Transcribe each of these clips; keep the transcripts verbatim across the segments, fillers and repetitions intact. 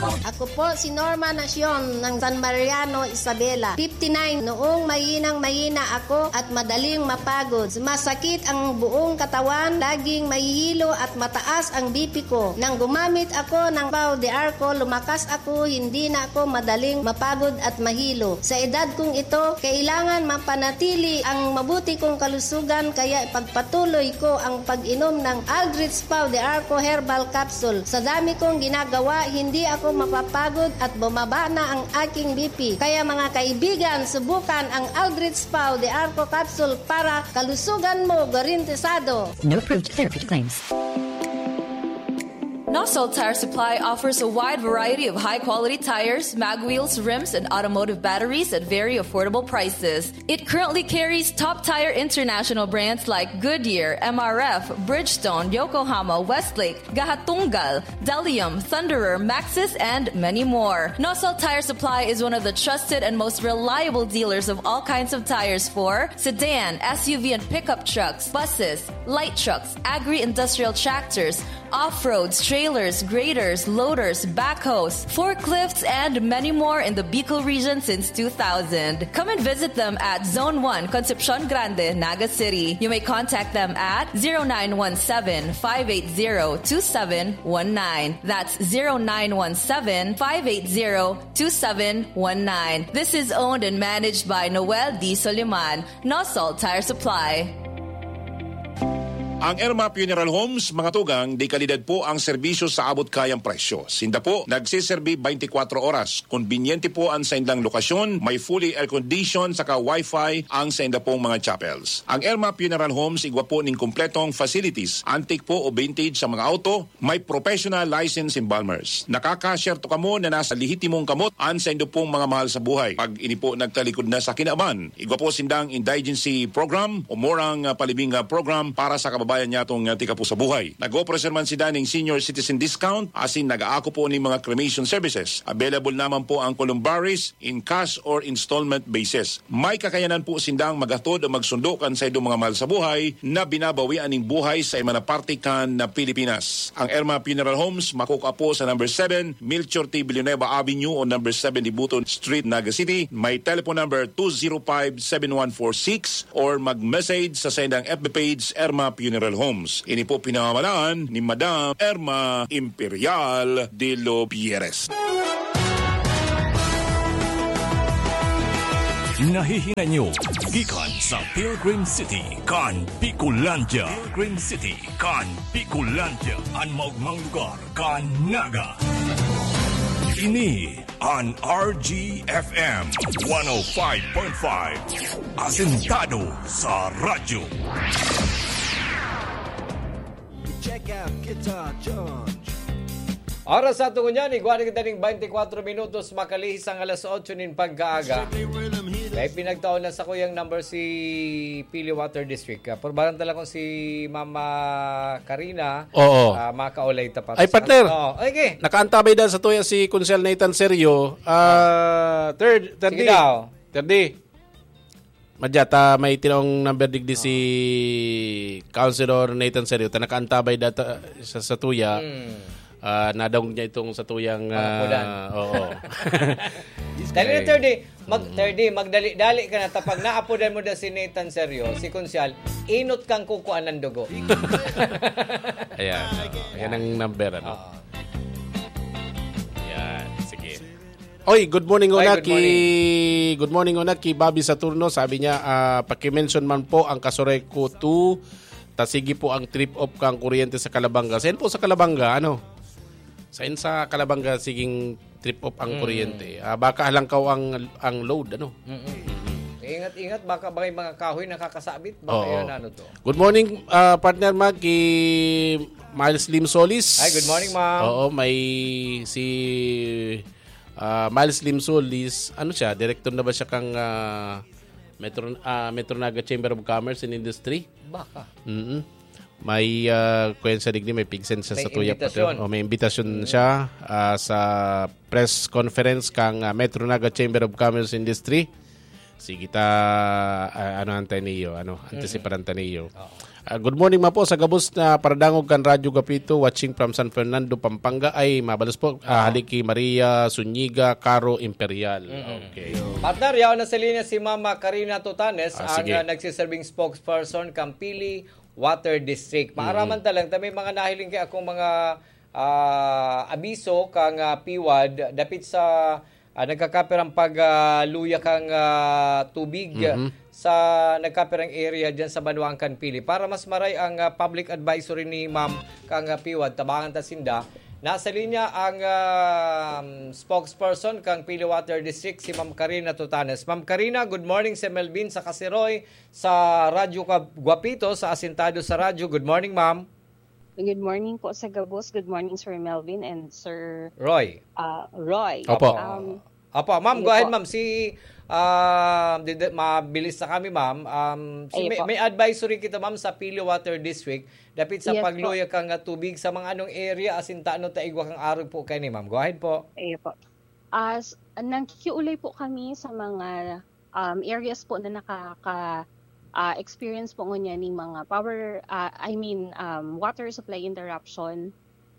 Ako po si Norma Nacion ng San Mariano, Isabela, fifty-nine. Noong mahinang-mahina ako at madaling mapagod, sumasakit ang buong katawan, laging mahihilo at mataas ang B P ko. Nang gumamit ako ng Pau de Arco, lumakas ako, hindi na ako madaling mapagod at mahilo. Sa edad kong ito, kailangan mapanatili ang mabuti kong kalusugan, kaya ipagpatuloy ko ang pag-inom ng Aldrich Pau de Arco Herbal Capsule. Sa dami kong ginagawa, hindi ako mapapagod at bumaba na ang aking B P. Kaya, mga kaibigan, subukan ang Aldrich Pau de Arco Capsule para kalusugan mo garantisado. No approved therapeutic claims. Nosol Tire Supply offers a wide variety of high-quality tires, mag wheels, rims, and automotive batteries at very affordable prices. It currently carries top tire international brands like Goodyear, M R F, Bridgestone, Yokohama, Westlake, Gahatunggal, Delium, Thunderer, Maxxis, and many more. Nosol Tire Supply is one of the trusted and most reliable dealers of all kinds of tires for sedan, S U V, and pickup trucks, buses, light trucks, agri-industrial tractors, off-roads, trailers, graders, loaders, backhoes, forklifts, and many more in the Bicol region since two thousand. Come and visit them at Zone one, Concepcion Grande, Naga City. You may contact them at zero nine one seven, five eight zero, two seven one nine. That's zero nine one seven, five eight zero, two seven one nine. This is owned and managed by Noel D. Soliman, Nosol Tire Supply. Ang Irma Funeral Homes, mga tugang, de kalidad po ang serbisyo sa abot-kayang presyo. Sinda po nagseserbi twenty-four oras. Konbinyente po ang saindang lokasyon, may fully air-condition saka wifi ang sainda pong mga chapels. Ang Irma Funeral Homes, igwa po ning kompletong facilities, antique po o vintage sa mga auto, may professional license embalmers. Nakaka-share to kamo na nasa lehitimong kamot an saindo pong mga mahal sa buhay. Pag ini po nagtalikod na sa kinaban, igwa po sindang indigency program o murang, ah, palibing, ah, program para sa kababayan nyatong, ah, tika po sa buhay. Nag-offer man sila ning senior citizen discount, asin nag-aako po ning mga cremation services. Available naman po ang columbaries in cash or installment basis. May kakayanan po sindang maghatod o magsundo kan saindong mga mahal sa buhay na binabawian ning buhay sa iba na parte kan na Pilipinas. Ang Irma Funeral Homes makukua po sa number seven, Melchor T. Villanueva Avenue o number seven Dibuton Street, Naga City. May telephone number two zero five, seven one four six or mag-message sa saindang F B page, Irma Funeral Homes. Ini po pinamamalaan ni Madam Irma Imperial de los Pierres. Nahihinan nyo gikan sa Pilgrim City kan Bicolandia. Pilgrim City kan Bicolandia, an maogmang lugar kan Naga. Ini an R G F M one oh five point five. Asentado sa radyo. Check out Guitar George. Oras sa tungo niyan, igwa na kita ning twenty-four minutos, makalihis ang alas otso nin pagkaaga. Kaya pinagtaon na sa kuyang number si Pili Water District. Ah, purbaran talaga kung si Mama Karina, Oo. ah, makaulay tapat Ay, sa partner. Oo, okay. Nakaantabay dahil sa tuya si Konsel Nathan Serio. Ah, third, third Sige D. daw. Third D. Madya, ta may tinong number digdi si Councilor Nathan Serio. Ta nakaantabay data sa, sa tuya. Hmm. Ah, nadangog niya itong sa tuyang, Pangapulan. ah, oo. Dali na, Okay. third D. Mag, Mm. third D, magdali-dali ka na. Tapag naapodan mo na si Nathan Serio, si Konsehal, inot kang kukuan ng dugo. Ayan. Ayan ang number, ano? Oo. Ayan. Sige. Oy, good morning, Ay, una good ki, morning. good morning, una ki Bobby Saturno. Sabi niya, ah, "Paki-mention man po ang Kasureco two, ta sige po ang trip off kang kuryente sa Calabanga." Sain po sa Calabanga, ano? Sain sa Calabanga, siging trip off ang Mm. kuryente? Ah, baka halangkaw ang, ang load, ano? Mm-mm. Ingat-ingat, baka, baka yung mga kahoy nakakasabit. Baka Oo. yun, ano to? Good morning, ah, partner Mag, ki Miles Lim Solis. Hi, good morning, ma'am. Oo, may si, ah, Miles Lim Solis. Ano siya? Direktor na ba siya kang, ah, Metro, ah, Metro Naga Chamber of Commerce and Industry? Baka. Mm-mm. May, ah, kuwan sa digdi, may pigsen siya May sa tuya imbitasyon. pati. Oh, may imbitasyon Mm. siya, ah, sa press conference kang, ah, Metro Naga Chamber of Commerce Industry. Sige ta, ah, ano ang tayo niyo, ano, Mm. antisiparan ta niyo. Oo. Ah, good morning, mapo, sa gabos na paradangog kan Radyo Gapito, watching from San Fernando, Pampanga. Ay, mabalos po, ah, hali ki Maria Zuniga, Caro Imperial. Okay. Partner, yaon na sa linya si Mama Karina Tutanes, Ah, ang sige. ah, nagsiserving spokesperson kan Pili Water District. Maaraman ta lang, ta may mga nahiling kay akong mga ah, abiso kang ah, PWAD dapit sa ah, nagkakapirang pagluya kang ah, tubig Mhm. sa nagkapirang area diyan sa Banwaan kan Pili. Para mas maray ang ah, public advisory ni Ma'am kang ah, PWAD, tabangan ta sinda. Nasa linya ang ah, spokesperson kang Pili Water District, si Ma'am Karina Tutanes. Ma'am Karina, good morning, si Melvin sa Kasiroy, sa Radyo Ka- Guapito, sa Asintado sa Radyo. Good morning, ma'am. Good morning po sa gabos. Good morning, Sir Melvin and Sir Roy. uh, Roy. Opo. Um, Apo, ma'am, Sige go ahead, po. ma'am. Si, ah, di- di- mabilis na kami, ma'am. Um, si, Ayun may, po. may advisory kita, ma'am, sa Pili Water District. Dapit sa Yes po. pagluya kang ah, tubig sa mga anong area, asin ta ano ta igwa kang arog po kani, ma'am. Go ahead po. Ayun po. As, nagkikiulay po kami sa mga um, areas po na nakaka ah, experience po ngunyan ng mga power, ah, I mean, um, water supply interruption.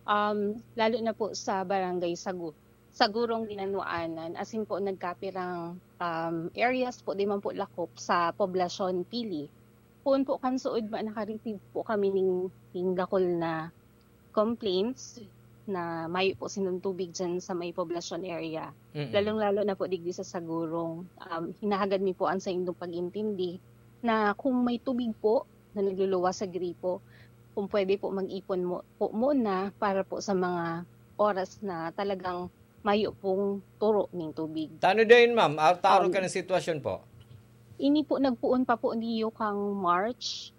Um, lalo na po sa barangay Sagu Sagurong Dinanwaanan, asin po nagkapirang um, areas po, di man po lakop sa poblasyon Pili. Poon po kan suod ma naka-receive po kami ning, ning dakul na complaints na mayo po sining tubig dyan sa may poblasyon area. Mm-mm. Lalong-lalo na po digdi sa Sagurong. Um, hinahagad mi po ang sa indong pag-intindi na kung may tubig po na nagluluwas sa gripo, kung pwede po mag-ipon mo, po muna para po sa mga oras na talagang mayo pong turo ning tubig. Tano dayon, ma'am? Ah, taro Um, ka ng sitwasyon po? Ini po nagpuon pa po niyo kang March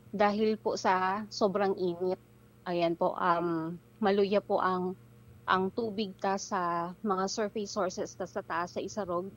dahil po sa sobrang init. Ayan po, um, maluya po ang ang tubig ta sa mga surface sources ta sa taas sa Isarog.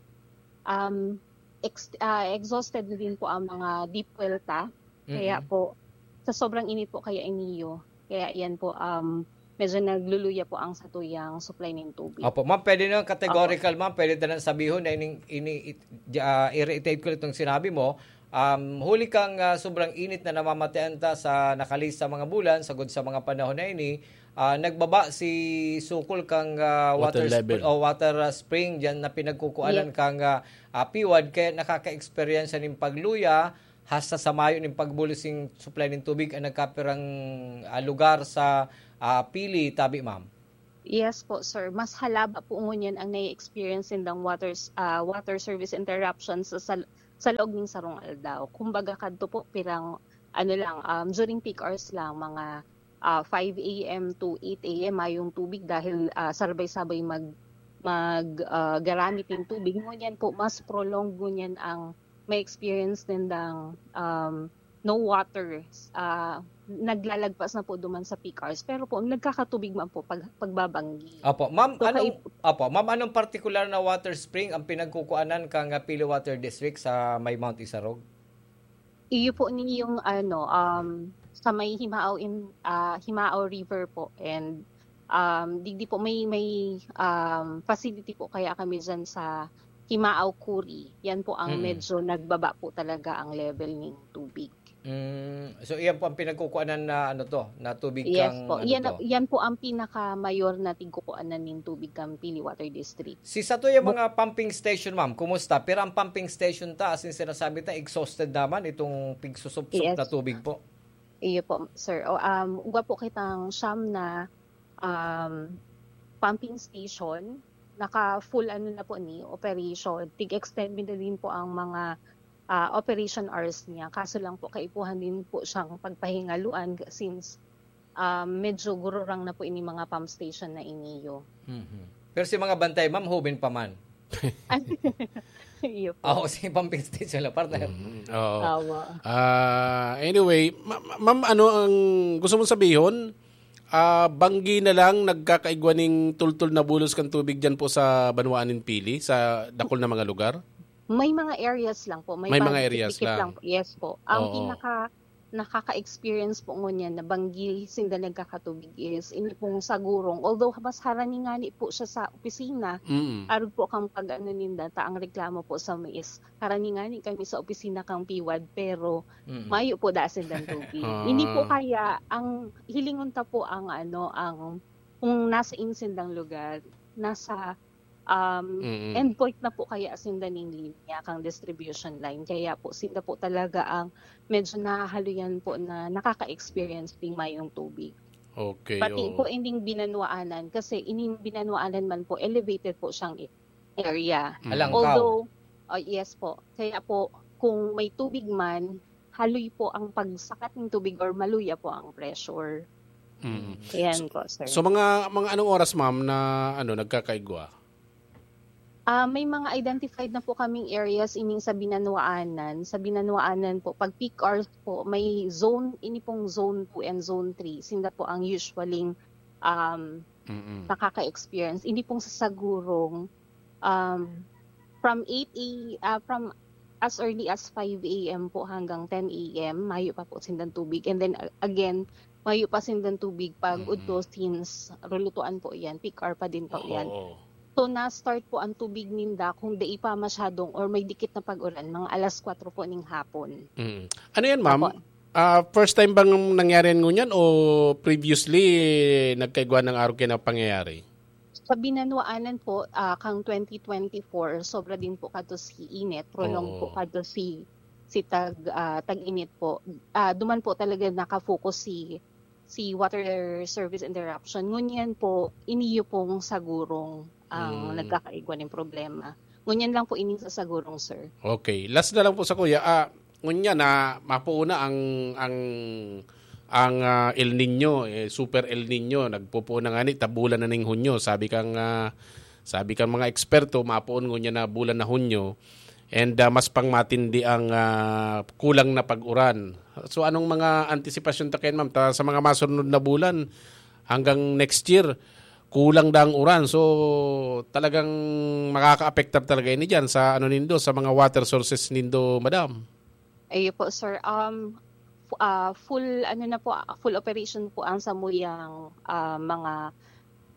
Um, ex- ah, exhausted na din po ang mga deep well ta. Kaya Mm-mm. po, sa sobrang init po kaya iniyo. Kaya yan po, um, medyo nagluluya po ang satuyang supply ng tubig. Opo, ma'am, pwede na categorical, ma'am, pwede na sabihon na ining, ini, it, ah, i-reiterate ko itong sinabi mo. Um, huli kang ah, sobrang init na namamatian ta sa nakalista mga bulan, sagod sa mga panahon na ini, ah, nagbaba si sukol kang ah, Water water, level. sp- o water ah, spring diyan na pinagkukuanan Yes. kang ah, ah, PWAD, kaya nakaka-experience ning pagluya hasta sa mayo ning pagbulos ning supply ning tubig ang nagkapirang ah, lugar sa ah, Pili, tabi, ma'am. Yes po, sir. Mas halaba po ngunyan ang nai-experience nindang water, ah, water service interruptions sa, sa, sa laog ning sarong aldaw. Kumbaga, kadto po, pirang, ano lang, um, during peak hours lang, mga ah, five a m to eight a m mayong tubig dahil ah, sabay-sabay mag, mag ah, garamit ng tubig. Ngunyan po, mas prolonged ngunyan ang may experience nindang um, no water. Ah, naglalagpas na po duman sa peak hours. Pero po, nagkakatubig man po pag, pagbabanggi. Opo, ma'am, So, anong kay- Opo, ma'am, anong particular na water spring ang pinagkukuanan kang ah, Pili Water District sa may Mount Isarog? Iyo po ni yung ano, um, sa may Himao in ah, Himao River po, and um, digdi po may may um, facility po kaya kami diyan sa Himao Kuri. Yan po ang Mm. medyo nagbaba po talaga ang level ng tubig. Mm, so iyan po ang pinagkukuanan na ano to, na tubig Yes kang po. ano Yan, to. Yan po ang pinakamayor na tigkukuanan ng tubig kang Pili Water District. Si sato yung mga pumping station, ma'am, kumusta? Pero ang pumping station ta, as in sinasabi ta, exhausted naman itong pigsusupsup Yes. na tubig po. Iyo po, sir. O, um, uga po kitang siyam na um, pumping station. Naka-full ano na po ni operation. Tig-extend mi na din po ang mga ah, operation hours niya. Kaso lang po, kaipuhan din po siyang pagpahingaluan since um, medyo gururang na po ini mga pump station na iniyo. Mhm. Pero si mga bantay, ma'am, hubin pa man. Iyo po. Ako, si pumping station lang, partner. Mm, oo. Awa. Ah, anyway, ma- ma- ma'am, ano ang gusto mong sabihon? Ah, banggi na lang nagkakaigwa ning tultol na bulos kan tubig diyan po sa banwaan nin Pili, sa dakul na mga lugar? May mga areas lang po. May, May pa- mga areas dikit-dikit lang. Po. Yes po. Ang Oo. pinaka nakaka-experience po ngunyan na banggi sinda nagkakatubig is ini pong sa gurong. Although mas harani ngani po siya sa opisina, Mm. arog po kang pag-ano ninda, ta ang reklamo po sa mi is, harani ngani kami sa opisina kang P W A D, pero Mm. mayo po da sindang tubig. Ah. Hindi po kaya ang hilingon ta po ang ano, ang kung nasa insindang lugar, nasa um, Mm. endpoint na po kaya sinda ning linya kang distribution line. Kaya po sinda po talaga ang medyo nahahaluyan po na nakaka-experience ding mayong tubig. Okay, Pati oo. po ining binanwaanan, kasi ining binanwaanan man po, elevated po siyang area. Mm. Alangkaw. Although, oh, yes po. Kaya po, kung may tubig man, haloy po ang pagsakat ng tubig or maluya po ang pressure. Mm. Ayan po, sir. So mga mga anong oras, ma'am, na ano nagkakaigwa? Ah, may mga identified na po kaming areas ining sa Binanwaanan. Sa Binanwaanan po, pag peak hours po, may zone, ini pong zone two and zone three. Sinda po ang usually um, Mm. nakaka-experience. Ini pong sa Sagurong, um, from eight a, ah, from as early as five a m po hanggang ten a m, mayo pa po sindang tubig. And then uh, again, mayo pa sindang tubig pag Mm. udto since rulutuan po yan, peak hour pa din po yan. Oo. So na-start po ang tubig ninda kung dai pa masyadong or may dikit na pag-uran, mga alas kwatro po ning hapon. Mm. Ano yan, ma'am? Apo. Ah, first time bang nangyari yan ngunyan o previously nagkaigwa ng araw kayo na pangyayari? Sa Binanwaanan po, ah, kang twenty twenty-four, sobra din po kadto si init, prolong Oo. po kadto si si tag ah, tag-init po. Ah, duman po talaga naka-focus si si water service interruption. Ngunyan po, iniyo pong Sagurong ang Mm. nagkakaigwa ng problema. Ngunyan lang po ining sa Sagurong, sir. Okay. Last na lang po sa kuya. Ah, ngunya na mapuuna ang ang ang ah, El Nino, eh, super El Nino, nagpupuon na nga ni tabulan na ning Hunyo. Sabi kang ah, sabi kang mga eksperto, mapuon ngunya na bulan na Hunyo. And ah, mas pang matindi ang ah, kulang na pag-uran. So anong mga antisipasyon ta kayan, ma'am? Ta, sa mga masunod na bulan hanggang next year, kulang daang uran. So talagang makakaapektar talaga ini diyan sa ano nindo, sa mga water sources nindo, madam. Ayun po, sir. Um, fu- ah, full ano na po, full operation po ang samuyang ah, mga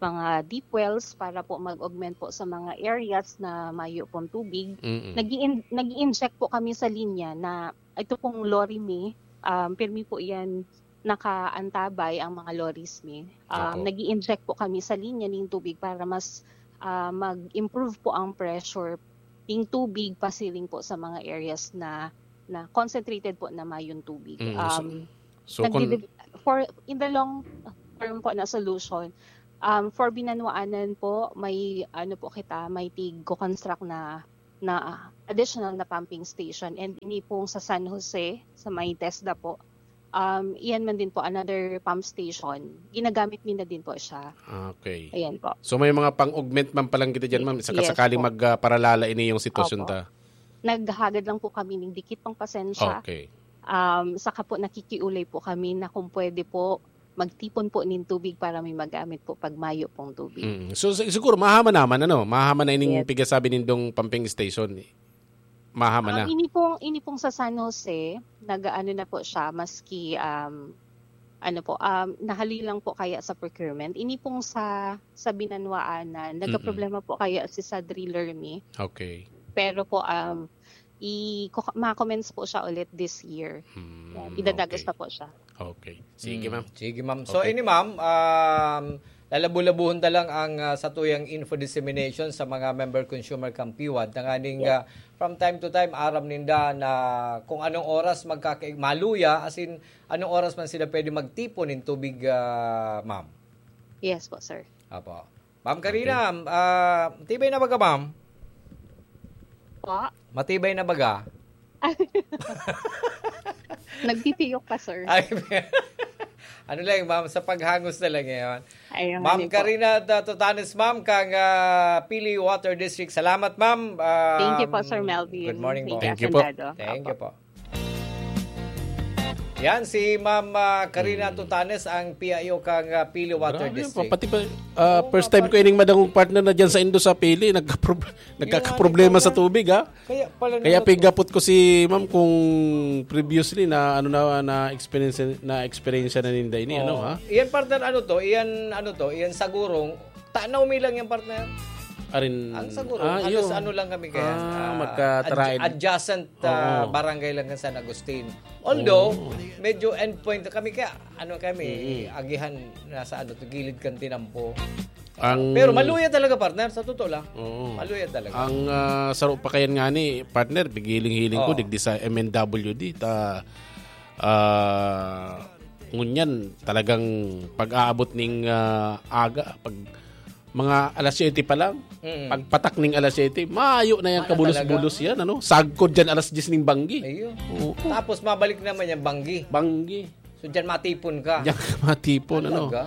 mga deep wells para po mag-augment po sa mga areas na mayo pong tubig. Mm-mm. Nag-i-in- nag-i-inject po kami sa linya na ito pong lorry mi, um, pirmi po yan nakaantabay ang mga lorries mi. Um, Opo. Nag-i-inject po kami sa linya ning tubig para mas ah, mag-improve po ang pressure ning tubig pasiring po sa mga areas na na concentrated po na mayong tubig. Mm, so- Um, So kung nagdidid- for in the long term po na solution, um, for Binanwaanan po, may ano po kita, may tig-construct na na additional na pumping station, and ini pong sa San Jose, sa may TESDA po, um, iyan man din po another pump station. Ginagamit mi na din po siya. Okay. Ayan po. So may mga pang-augment man palang kita diyan, ma'am. Saka Yes sakaling po. magparalala ini yung sitwasyon Opo. ta. Naghahagad lang po kami ng dikit pang pasensya. Okay. Um, saka po nakikiulay po kami na kung pwede po magtipon po nin tubig para may magamit po pag mayo pong tubig. Mm. So si- siguro mahama naman ano, mahama na ining Yes. pigasabi nindong pumping station. Mahama na. Um, ini pong ini pong sa San Jose, nag-aano na po siya, maski um, ano po, um, nahaloy lang po kaya sa procurement. Ini pong sa sa Binanwaanan, nagka-problema po kaya si sa driller mi. Okay. Pero po um i ma-commence po siya ulit this year. Hmm, Yan, idadagas okay. pa po siya. Okay. Sige, Mm, ma'am. Sige, ma'am. So, Okay. ini, ma'am, um, lalabu-labuhon ta lang ang ah, satuyang info dissemination sa mga member consumer kang PWAD. Tanganing ah, from time to time, aram ninda na kung anong oras magkaka- maluya, as in, anong oras man sila pwede magtipon ng tubig, ah, ma'am. Yes po, sir. Apo. Ma'am Karina, ah, matibay na baga, ma'am? Po? Matibay na baga? Nagtitiyok pa, sir. Ay, ano lang, ma'am, sa paghangos na lang ngayon. Ayun, Ma'am ano po. Karina Tatotanes, ma'am, kang ah, Pili Water District. Salamat, ma'am. Ah, Thank you po, Sir Melvin. Good morning po. Thank Thank you you, po. Asandado. Thank you po. Yan, si Ma'am, ah, Karina Tutanes, ang P I O kan, ah, Pili Water Grabe, District. Pati ba, ah, Oo, first time ko ining madangog, partner, na dyan sa Indo sa Pili, nagkaprob-, nagkakaproblema sa tubig, ha? Kaya pala Kaya naman to. pigapot ko si Ma'am kung previously na, ano na, na experience, na experience na ninda ini, ano, Oo. ha? Iyan, partner, ano to? Iyan, ano to? Iyan, Sagurong. Tanaw mi lang yan, partner. Arin, Ang Sagurong. ah, Halos yun. ano lang kami kaya. Ah, Ah, magkataraid. adj-, adjacent, ah, Oo. barangay lang kan San Agustin. Although, Oo. medyo endpoint kami kaya, ano kami, Mm. agihan, nasa ano to, gilid kan tinampo. Ang Pero maluya talaga, partner, sa totoo lang. Oo. Maluya talaga. Ang, ah, saro pa kayan nga ni, partner, pigiling-hiling ko, Oo. digdi sa M N W D, ta, ah, ngunyan, talagang pag-aabot ning, ah, aga, pag mga alas siyete pa lang, Mm. pagpatak ning alas siyete, mayo na yan, Wala kabulos-bulos talaga. yan, ano? Sagkod dyan alas diyes ning banggi. Ayun. Oo. Tapos mabalik naman yung banggi. Banggi. So, dyan matipon ka. Diyan ka matipon, ano? Talaga?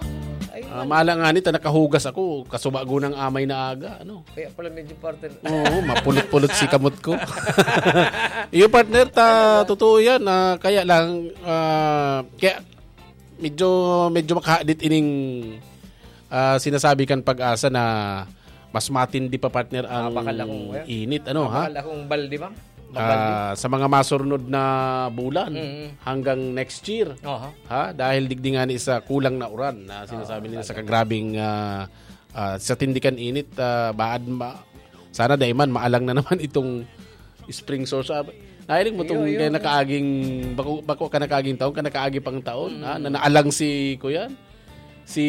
Ay, Ah, man. mala nga nito, nakahugas ako, kasubago ng amay na aga, ano? Kaya pala medyo, partner. Oo, mapulot-pulot si kamot ko. Iyo, partner, ta, Talaga? totoo yan. Ah, kaya lang, ah, kaya medyo, medyo makahadit ining, ah, sinasabi kan Pag-asa na mas matindi pa, partner, Ah, ang bakal akong, eh. init, ano, ha? Bakal akong balde, ma'am. Mabalde. Ah, sa mga masurnod na bulan Mm. hanggang next year, Aha. ha? Dahil digdi nga ni sa kulang na uran na sinasabi Oo, nila sa talaga. kagrabing, ah, ah, sa tindikan init, ah, baad ma-, sana dai man maalang na naman itong spring source. Ah, nahiling mo Iyo, tong iyo, kaya iyo. nakaaging, bako, bako ka nakaaging taon, ka nakaagi pang taon, Mm. ha? Na naalang si, kuyan? Si,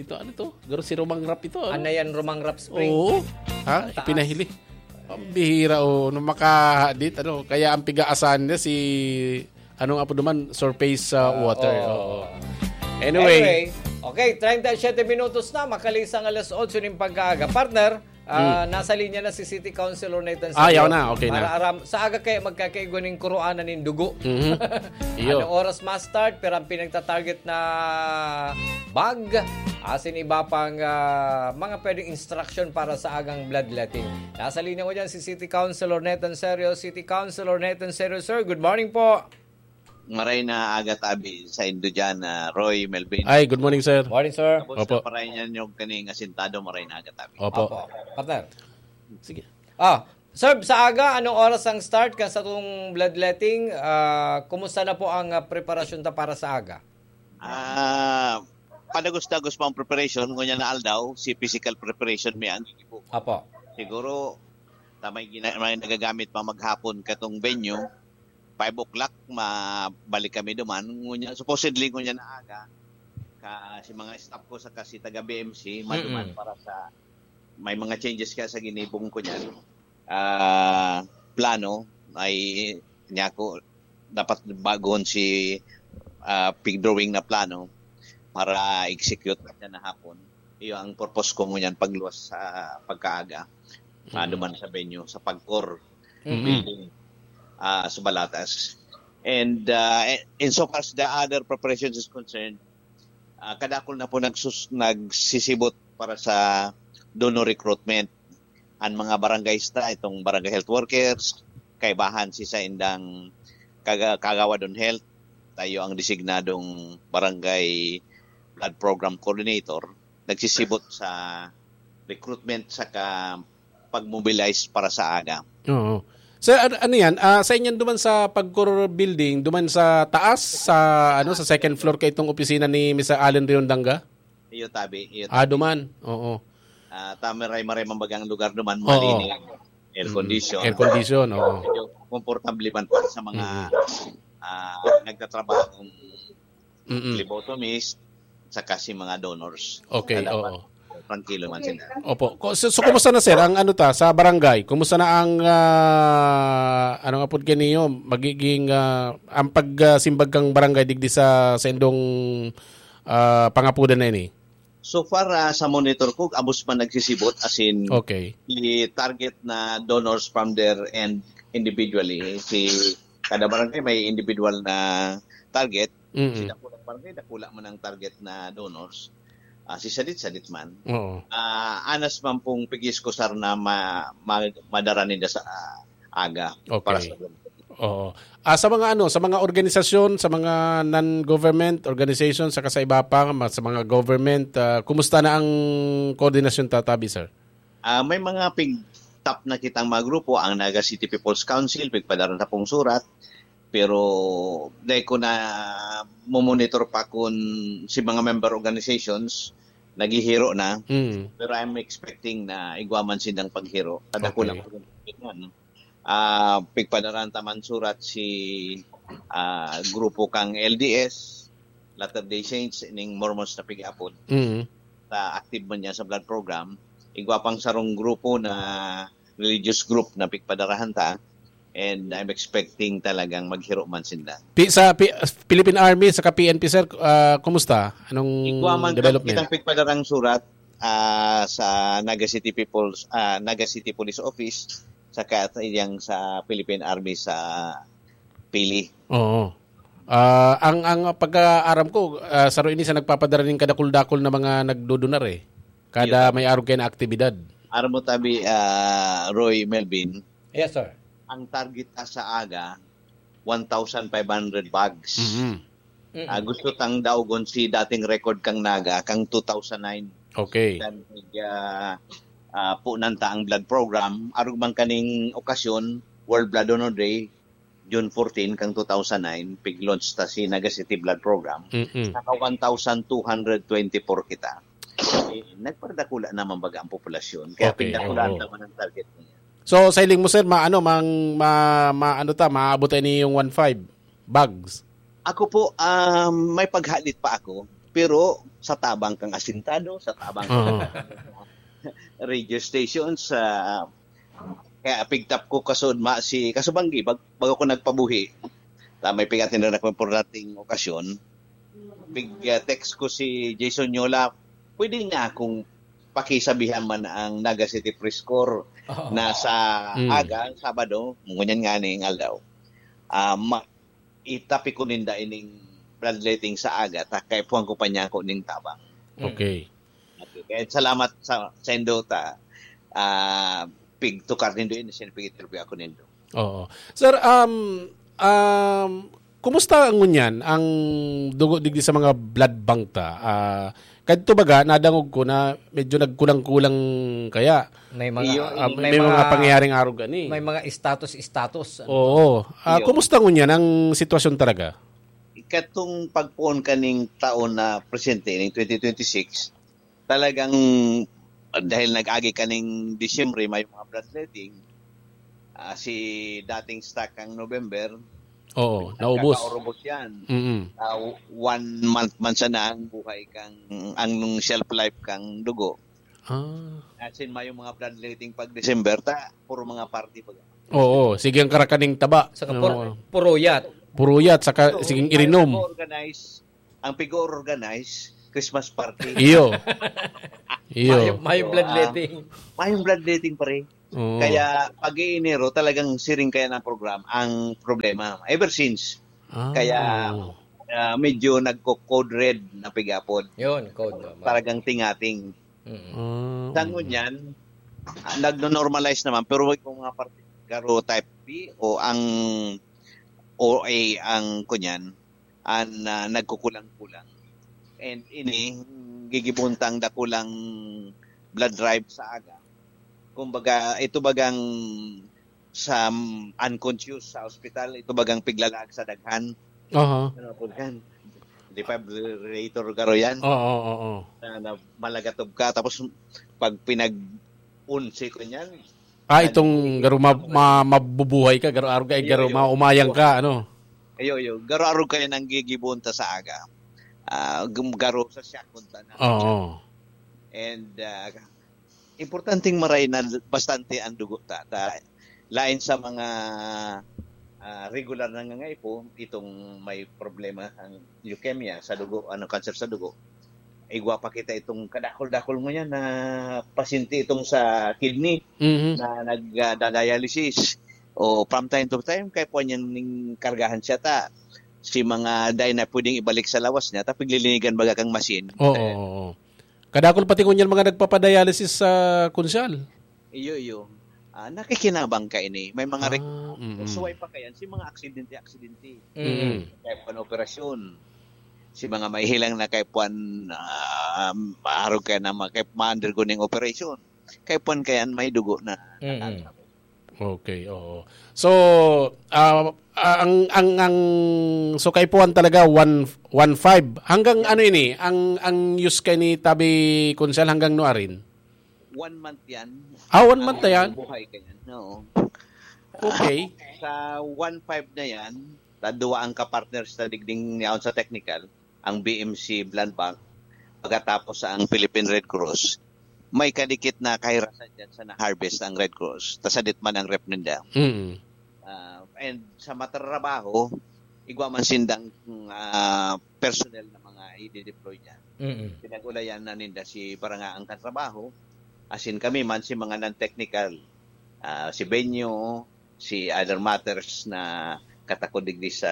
ito, ano to? Garo si Romangrap ito, ano? Anayan Romangrap Spring. Oo. Ha? Taas. Ipinahili. Pambihira, o, nung makahadit, ano? Kaya ang pigaasan niya si, ano nga po naman, surface, ah, Ah, water. oo. Oo. Anyway. Anyway, okay, treinta y siete minutos na, makalisang alas otso ning pagkaaga. Partner, ah, Hmm. nasa linya na si City Councilor Nathan Ah, Sergio. yaw na, okay na. Para aram, sa aga kaya magkakaigwa ning kuroanan nin dugo. Mhm. Iyo. Anong oras ma-start? Pero ang pinagta-target na bag, asin iba pang, ah, mga pwedeng instruction para sa agang bloodletting. Nasa linya ko dyan si City Councilor Nathan Sergio. City Councilor Nathan Sergio, sir, good morning po. Maray na aga tabi sa indo dyan, ah, Roy, Melvin. Ay, good morning, sir. Morning, sir. Tapos Opo. sa paray niya niyog kaning asintado, maray na aga tabi. Opo. Opo. Partner. Sige. Ah, sir, sa aga, anong oras ang start kan satong bloodletting? Ah, kumusta na po ang, ah, preparasyon ta para sa aga? Ah, padagos-dagos pa ang preparation. Ngunyan na aldaw, si physical preparation mi ang gigibo. Apo. Siguro, ta may gina-, may nagagamit pa maghapon katong venue, five o'clock, mabalik kami duman. Ngunyan, supposedly, ngunyan na aga, ka, si mga staff ko saka si taga B M C, maduman Mm-mm. para sa, may mga changes ka sa ginibong ko niyan. Ah, plano, ay, niya ko, dapat baguhon si, ah, pig drawing na plano para execute na siya na hapon. Iyo ang purpose ko ngunyan pagluwas sa pagkaaga. Mm. Maduman sa venue, sa Pagcor Mm. building, ah, sa Balatas. And, ah, insofar as the other preparations is concerned, ah, kadakul na po nagsus-, nagsisibot para sa donor recruitment. Ang mga barangays ta, itong barangay health workers, kaibahan si saindang kaga-, kagawad on health, tayo ang designadong barangay blood program coordinator, nagsisibot sa recruitment saka pag-mobilize para sa aga. Oo. Sir, an-, ano yan? Ah, sa inyan duman sa Pagcor Building, duman sa taas, sa, ano, sa second floor kay itong opisina ni Mister Allen Riondanga? Iyo tabi, iyo Ah, tabi. duman. Oo. Ah, tamaray-maray man bagang lugar duman, Oo. malinis. Air Mm. condition. Air condition, oo. Medyo komportable man para sa mga, Mm. ah, nagtatrabahong Mm. phlebotomist, saka si mga donors. Okay, Na dapat oo. tranquilo man sila. Opo. Ko-, so, so, kumusta na, sir, ang ano ta, sa barangay? Kumusta na ang, ah, ano nga po kaniyo, magiging, ah, ang pagsimbag kang barangay digdi sa, sa indong, ah, pangapudan na ini? So far, ah, sa monitor ko, abos man nagsisibot, as in, Okay. i-target na donors from their end individually. Si kada barangay may individual na target. Mm. Si dakulang barangay, dakula man ang target na donors. Ah, si sadit-sadit man. Oo. Ah, anas man pong pigiskusar na ma-, ma-, madara ninda sa, ah, aga Okay. para sa Oo. Ah, sa mga ano, sa mga organisasyon, sa mga non-government organization, saka sa iba pa, ma-, sa mga government, ah, kumusta na ang koordinasyon tatabi, sir? Ah, may mga pig-top na kitang mga grupo, ang Naga City People's Council, pigpadara na pong surat, pero dai ko na momonitor pa kun si mga member organizations naghihiro na. Mm. Pero I'm expecting na igwa man sindang paghiro. Kadakula Okay. pa rin, ano. Ah, pigpadara ta man surat si, ah, grupo kang L D S, Latter-day Saints, ning Mormons na pig-apod. Mm. Sa active man niya sa blood program. Igwa pang sarong grupo na religious group na pigpadarahan ta. And I'm expecting talagang maghiro man sinda. Pi-, sa Pi-, Philippine Army, saka P N P, sir, ah, kumusta? Anong Igwa man development? Kitang pigpadarang surat, ah, sa Naga City People's, ah, Naga City Police Office, saka iyang sa Philippine Army sa Pili. Oo. Ah, ang, ang pagkaaram ko, ah, saro ini sa nagpapadara ning kadakul-dakul na mga nagdodonar eh. Kada Yun. may arog kayo na aktibidad. Aram mo tabi, ah, Roy Melvin, Yes, sir. ang target ta sa aga, one thousand five hundred bags. Mhm. Mm. Ah, gusto tang daogon si dating record kang Naga, kang two thousand nine. Okay. Kan, ah, ah, punan ta ang blood program. Arog man kaning okasyon, World Blood Donor Day, June fourteen kang two thousand nine, pig-launch ta si Naga City Blood Program. Mm-mm. Naka one thousand two hundred twenty-four kita. Eh, nagparadakula naman baga ang populasyon. Kaya Okay, pigdakulaan oo. ta man ang target niya. So, sa hiling mo, sir, ma-, ano, mang-, ma-, ma-, ano ta, maabot tayo ni yung one five bags? Ako po, um, may paghalit pa ako. Pero sa tabang kang asintado, sa tabang Oo. radio station, sa kaya pigtap ko kasud ma-, si kasubanggi, bag-, bago ko nagpabuhi. Ta may pigatin na ako importanteng okasyon. Pig, ah, text ko si Jason Yola, pwede niya akong pakisabihan man ang Naga City Press Corps Oo. na sa Mm. aga, Sabado, ngunyan nga ning aldaw. Ah, ma-, itapi ko ninda ining bloodletting sa aga, ta kaipuhan ko pa niya ako ning tabang. Mm. Okay. Okay. Kaya salamat sa, sa indo ta, ah, pigtukar nindo ini, siyempre pig-interview ako nindo. Oo. Sir, um, um, kumusta ang ngunyan, ang dugo digdi sa mga blood bank ta? Ah, kadto baga, nadangog ko na medyo nagkulang-kulang kaya. May mga, Iyo, ah, may may mga mga, pangyayaring arog ani. may mga status-status, ano? Oo. Ah, Iyo. kumusta ngunyan ang sitwasyon talaga? Ikatong pagpoon kaning taon na presente, ning twenty twenty-six, talagang, ah, dahil nag-agi kaning Disyembre, may mga bloodletting, ah, si dating stock kang November, Oo, naubos. nagkakaurubos yan. Mm-mm. Ah, one month man sana ang buhay kang, ang shelf life kang dugo. Ah. As in, may mga bloodletting pag December, ta, puro mga party pag Oo, sige ang karakaning taba. Saka Oo. pur-, puruyat. Puruyat, saka So, siging ang irinom. nag-organize, ang pig-organize, Christmas party. Iyo. Iyo. Mayong, mayong So, ah, bloodletting. mayong bloodletting, pare. Oo. Kaya pag Enero, talagang siring kaya ng program, ang problema. Ever since. Ah. Kaya, ah, medyo nagko-code red na pig-apod. Yun, code, tama. Talagang tingating. Mm. Ah, Sa oo. ngunyan, ah, nagno-normalize naman, pero wag kong mga parte, garo type B o ang O A ang kunyan, ang, ah, nagkukulang-kulang. And ini, gigibuntang dakulang blood drive sa aga. Kumbaga, ito bagang sa, um, unconscious sa ospital, ito bagang piglalag sa daghan. Aha. Ano po yan? Defibrillator garo yan. Oo, oo, oo. Na, na malagatob ka, tapos pag pinag-unsi ko niyan, Ah, itong nag- garo ma-, ma-, mabubuhay ka, garo arog ka, eh, Iyo, garo iyo. maumayang ka, ano? Iyo, iyo. Garo arog kayo nang gigibon ta sa aga. Ah, gum-, garo sa shock kung ta na. Oo. And, ah, importanteng maray na bastante ang dugo ta. Ta-, lain sa mga, ah, regular na nangangaipo, itong may problema ang leukemia sa dugo, ano, cancer sa dugo, igwa pa kita itong kadakol-dakol ngunyan na pasyente itong sa kidney Mhm. na nagda-dialysis. O from time to time, kaya po niyan ning kargahan siya ta. Si mga dai na pwedeng ibalik sa lawas niya, ta piglilinigan baga kang machine. Oo, Eh, oo, oo. Kadakol pati ngunyan mga nagpapadialysis sa Kunsyal. Iyo, iyo. Ah, nakikinabang kaini. May mga rek- Ah, mm. Suway pa kayan, si mga aksidente-aksidente. Mm. Kaipuhan operasyon. Si mga mahihilang na kaipuhan, ah, maarog kaya na mga kaipuhan undergoing operation. Kaipuhan kayan, may dugo na. Mm-mm. Okay, oo. So, ah, ah, ang ang ang so kaipuhan talaga one one five. Hanggang ano ini? Ang ang use kay ni Tabi Kunsel hanggang nuarin? One month yan. Ah, one month na yan? Buhay kayan. Oo. Okay. Sa one five na yan, tadwa ang kapartners na digding niyaon sa technical, ang B M C Blood Bank, pagkatapos ang Philippine Red Cross, may kadikit na kahirasan dyan sa na-harvest ang Red Cross. Tasadit man ang rep ninda. Mm. Ah, and sa matrabaho, igwa man sindang ah, personnel na mga i-deploy niya. Mm-mm. Pinag-ulayan na ninda si Barangaang Katrabaho, asin kami man si mga non-technical, ah, si venue, si other matters na katakod digdi sa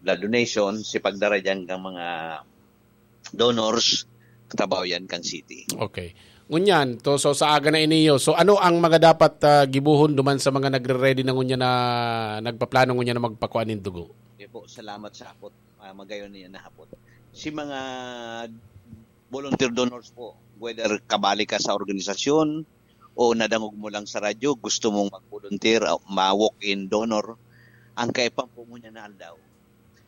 blood donation, si pagdara dyan ng mga donors, katrabaho yan kang city. Okay. Ngunyan, to so sa aga na iniyo. So ano ang mga dapat ah, gibuhon duman sa mga nagre-ready na ngunyan na nagpaplano ngunyan na magpakuha nin dugo? Okay po, salamat sa hapot. Ah, magayon niya na hapot. Si mga volunteer donors po, whether kabali ka sa organisasyon o nadangog mo lang sa radyo, gusto mong mag-volunteer, o ma-walk-in donor, ang kaipan po mo niya na aldaw,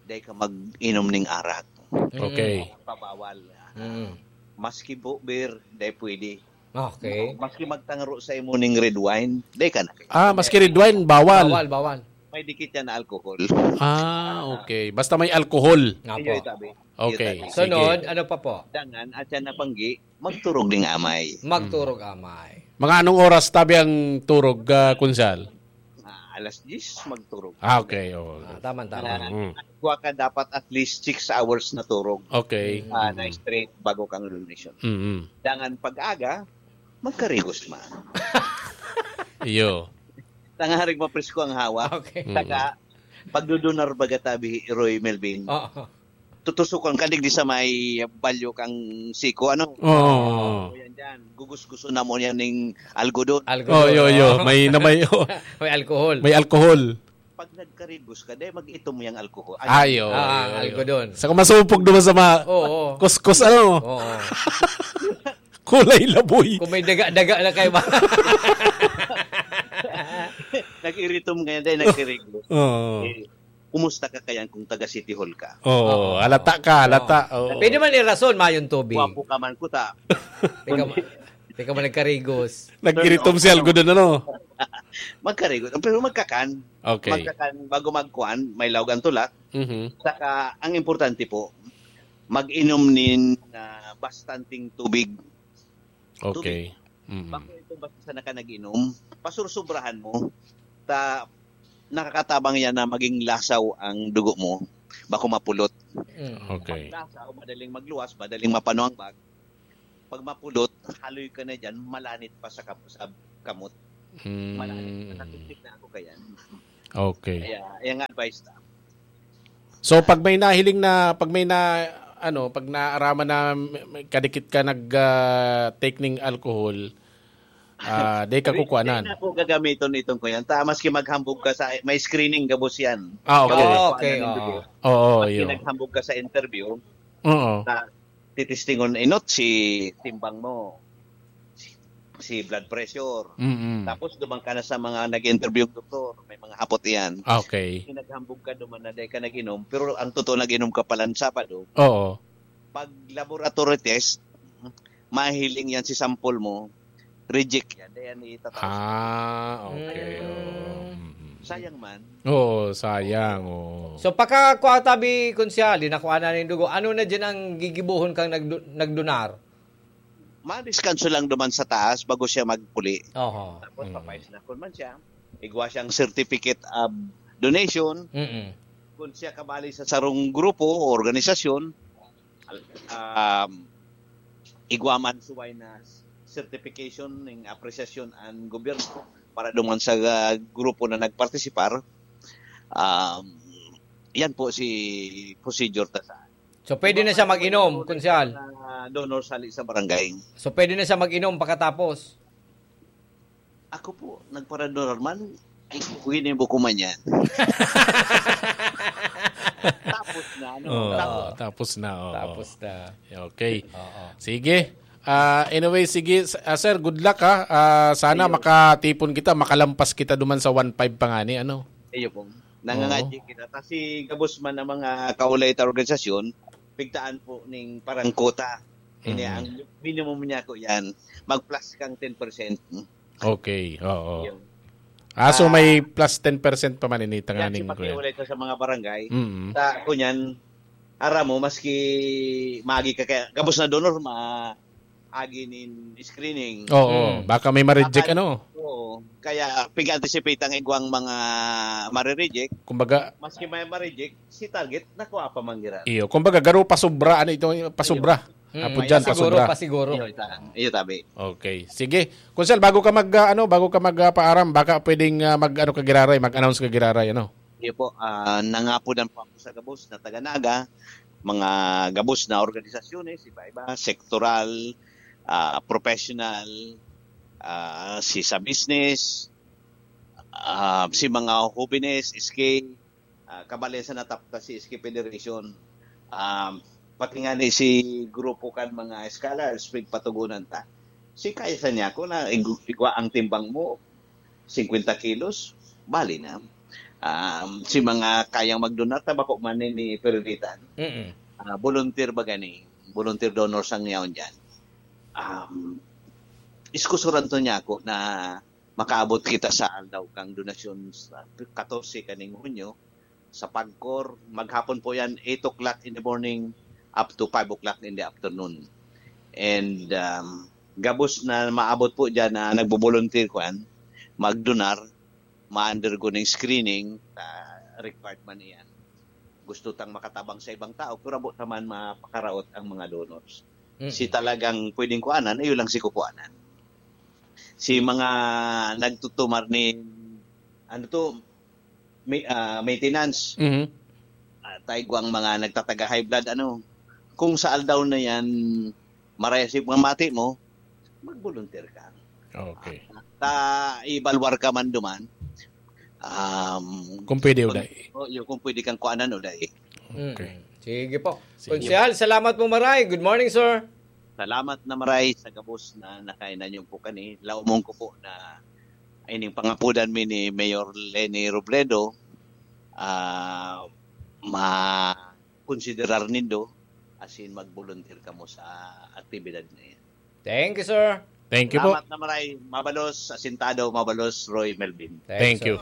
dahil ka mag-inom ning arak. Okay. Pabawal. Mm. Maski po beer, dahil pwede. Okay. Maski magtangro sa imo ning red wine, dahil ka na. Ah, maski red wine, bawal. Bawal, bawal. May dikit yan na alcohol. Ah, okay. Basta may alcohol. Nga Iyo po. itabi. Okay. Iyo itabi. Sunod, Sige. ano pa po? Dangan, at siya napanggi, magturog ning amay. Magturog amay. Mga anong oras tabi ang turog, ah, Kunsal? Ah, alas diyes, magturog. Ah, okay. Oh. Ah, tama, tama. Mm. Kuha ka dapat at least six hours na turog. Okay. Ah, Mm. na straight bago kang donation. Mm. Dangan pag-aga, magkarigos man. Iyo. Tangarig mapresko ang hawak. Okay. Mm. Saka, pagdudunar baga tabi, Roy Melvin. Oo. Tutusukon ka digdi sa may balyo kang siko, ano? Oo. O yan dyan. Gugusguson na mo yan ning algodon. Algo Oh, doon, yo, yo. no? May na may, oh, May alcohol. may alcohol. Pag nagkarigos ka, dahil mag-itom yung alcohol. Ayo. Ah, algodon. Sa kumasupog naman sa mga Oo. kuskus, ano? Oo. Kulay laboy. Kung may daga-daga na kayo ba? Nag-iritom ngayon dahil nagkarigos. Oo. Eh, kumusta ka kaya kung taga City Hall ka? Oo. Halata ka, halata. Oo. Pwede man irason, mayong tubig. Gwapo ka man kuta. Ikaw, ikaw man nagkarigos. Nag-iritom si algodon, ano? Magkarigos. Pero magkakan. Okay. Magkakan bago magkuan, may laog ang tulak. Mhm. Saka, ang importante po, mag-inom nin ah, bastanteng tubig. Okay. Mm. Bako ito basta sa naka nag-inom, pasursubrahan mo. Ta, nakakatabang yan na maging lasaw ang dugo mo. Bako mapulot. Mm. Okay. Lasaw, madaling magluwas, madaling mapano ang bag. Pag mapulot, haloy ka na dyan, malanit pa sa, kam- sa kamot. Malanit. Mm. Nakatiktik na ako kaya. Okay. Kaya, yung advice na. So pag may nahiling na, pag may na ano, pag naaraman na may- may kadikit ka nag ah, take ning alcohol, ah, di ka kukuanan. Hindi na po gagamiton itong ko yan. Ta, maski maghambog ka sa, may screening gabos yan. Ah, okay. Oo, okay. Ano, Oo. Oo, Maski yun. naghambog ka sa interview, Oo. na titistingon inot si timbang mo, si, si blood pressure. Mm. Tapos duman ka na sa mga nag-interview ng doktor, may mga hapot iyan. Okay. Naghambog ka duman na dahil ka nag-inom, pero ang totoo nag-inom ka pala ng Sabado, Oo. pag laboratory test, mahiling yan si sample mo, reject yan. Dahil yan itataas. Ah, okay. Mm. Oo. Mm. Sayang man. Oo, sayang. Oo. So, pagka kuha tabi, Kunsehal, nakuha na ning dugo, ano na dyan ang gigibuhon kang nagdu- nagdonar? Madiskanso lang duman sa taas bago siya magpuli. Oho. Tapos Mm. papais na kun man siya. Igwa siyang certificate of donation. Mm-mm. Kung siya kabali sa sarong grupo o organisasyon, um, igwa man suway na certification ng apresiasyon ang gobyerno para duman sa uh, grupo na nagpartisipar. Um, yan po si procedure ta sa So, pwede na siya mag-inom, Kunsehal. Uh, donor sali sa barangay. So, pwede na siya mag-inom pagkatapos. Ako po, nagparadonor man, ay, ginibo ko man yan. Tapos na, ano? Oo, Tapos. Tapos na. Oo. Tapos na. Okay. Oo. Sige. Ah, anyway, sige, s- ah, sir, good luck ha. Ah, sana Ayun. makatipon kita, makalampas kita duman sa one five pa nga ni, ano. Iyo po. Nangangadyi kita. Ta si gabos man ang mga kaulay ta organisasyon, pigtaan po ning parang quota. Ini Mm. ang minimum niya ko yan. Mag-plus kang ten percent. Okay, oo. Yun. Ah, so Ah, may plus ten percent pa man ini Yan si tanganing ko yan. pakiulay ta sa mga barangay. Mm. Sa kunyan, aram mo, maski magi ka kaya, gabos na donor, ma agi nin screening. Oo, Mm. baka may ma-reject Baka- ano. Oo. Kaya pig-anticipate ang igwang mga marireject. Kumbaga, Maski may ma-reject, si target, nakuha pa man gira. iyo, kumbaga garo pasobra, ano ito, pasobra. Mm, Apo dyan, pasiguro, pasobra. Pasiguro. Iyo, ita. Iyo, tabi. Okay. Sige. Kunsel, bago ka mag ah, ano, bago ka mag ah, paaram, baka pwedeng ah, mag ano ka giraray, mag-announce ka giraray, ano. Iyo po, ah, nangapodan po ako sa gabos na taga-Naga, mga gabos na organisasyones, iba-iba, sektoral, ah, professional, ah, si sa business, ah, si mga hobenes, S K, ah, kabalen sa natapta si S K Federation, um, pati nga ni si grupo kan mga scholars, pigpatugunan ta. Si kaya sa niya ko na igu- igwa ang timbang mo, fifty kilos, bali na. Um, si mga kayang magdonar, tabako man ni, ni Perditan. Mm-mm. Ah, volunteer ba gani? Volunteer donors ang yaon dyan. Um, iskusuran to niya ako na makaabot kita sa aldaw kang donasyon sa katorse kaning Hunyo sa Pagcor. Maghapon po yan, eight o'clock in the morning up to five o'clock in the afternoon. And um, gabos na maabot po dyan na nagbo-volunteer kuan, magdonar, ma-undergo ning screening, ah, required man iyan. Gusto tang makatabang sa ibang tao, pero abo naman mapakaraot ang mga donors. Mm. Si talagang pwedeng kuanan, iyo lang si kukuanan. Si mga nagtutumar ni, ano to, may, ah, maintenance, Mhm. Ah, taigwang mga nagtataga high blood, ano, kung sa aldaw na yan, marayas yung mga mati mo, mag-volunteer ka. Okay. Ta, ibalwar ka man duman. Um, Kung pwede, pag- Uday. Oh, yung kung pwede kang kuanan, Uday. Okay. Mm. Sige po. Sige. Konsehal, salamat po maray. Good morning, sir. Salamat na maray sa gabos na nakain ninyo po kani. Laumon ko po na ining pangapudan mi ni Mayor Leni Robredo, ah, ma-considerar nindo asin mag-volunteer kamo sa aktibidad na yan. Thank you, sir. Thank you po. Salamat na maray, mabalos, asintado, mabalos, Roy Melvin. Thank you.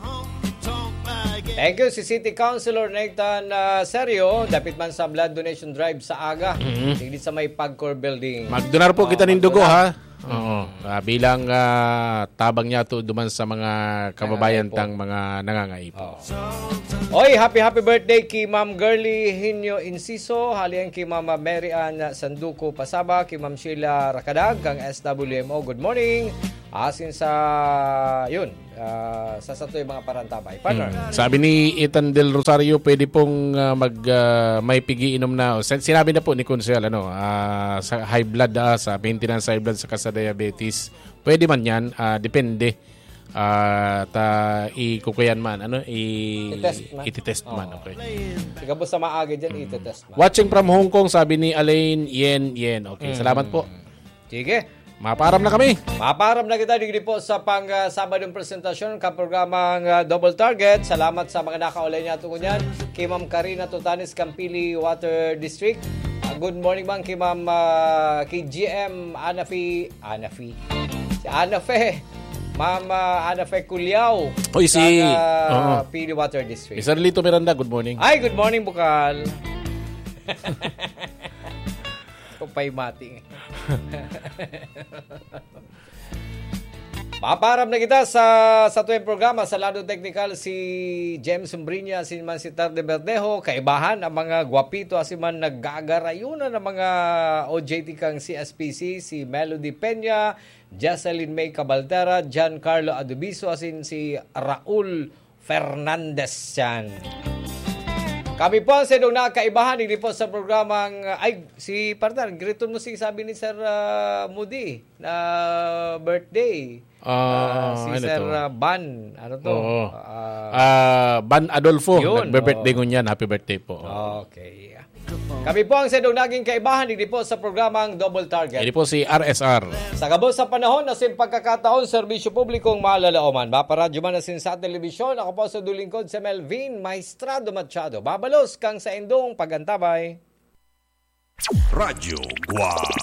Thank you si City Councilor Nathan ah, Serio, dapit man sa blood donation drive sa aga. Mhm. Digdi sa may Pagcor Building. Magdonar po Oh, kita nin dugo, magdonar. Ha. Oo. Ah, bilang ah, tabang niya to duman sa mga kababayan Nangangaipo. Tang mga nangangaipo. Oh. Oy, happy happy birthday ki Ma'am Girly Hinyo Inciso, halian ki Mama Mary Ann Sanduco Pasaba, ki Ma'am Sheila Rakadag, kang S W M O. Good morning. Asin sa, yun, ah, sa satoy mga parantabay. Partner. Mm. Sabi ni Ethan Del Rosario, pwede pong ah, mag ah, may pigiinom na. Sin- Sinabi na po ni Konsehal, ano, ah, sa high blood, ah, sa maintenance high blood, saka sa diabetes. Pwede man yan, ah, depende. Ah, ta ikukuyan man, ano, i- I-test man. ititest Oo. Man, okay. Siguro sa maaga dyan, itetest man. Watching from Hong Kong, sabi ni Alain Yen Yen. Okay, salamat po. Sige. Maparam na kami. Maparam na kita digdi po sa pang ah, Sabadong presentasyon kan programang ah, Double Target. Salamat sa mga nakaulay niya tungo niyan. Kay Ma'am Karina Totanes, Campili Water District. Ah, good morning, ma'am, kay Ma'am ah, kay G M Anafi, Anafi. Si Anafe. Ma'am ah, Anafe Culiao. Oy, si- Sa ah, Oo. Pili Water District. Mister Lito Miranda, good morning. Ay, good morning, Bukal. Ito pa'y mating. Maparam na kita sa sa tuwing programa sa lado teknikal si James Umbriña, si man si Tarde Verdejo, kaibahan ang mga gwapito, asin man nagagarayunan ang mga O J T kang C S P C, si Melody Peña, Jocelyn May Cabaltera, Giancarlo Adubiso, asin si Raul Fernandez yan. Kami po ang sedong nakakaibahan, hindi po sa programang, ay, si partner, griton mo si sabi ni Sir ah, Moody na birthday. Ah, si ano Sir to? Ah, Ban, ano to? Oo. Ah, Ah, Ban Adolfo, Yun, nagbe-birthday oo. ngunyan. Happy birthday po. Oo. Okay. Kami po ang sadong naging kaibahan, digdi po sa programang Double Target. Ini po si R S R. Sa gabos sa panahon na sin pagkakataon, serbisyo publikong malalaoman. Maparadyo man na sin sa telebisyon, ako po sa dulingkod si Melvin Maestrado Machado. Babalos kang sa indong pagantabay. Radyo Guwang.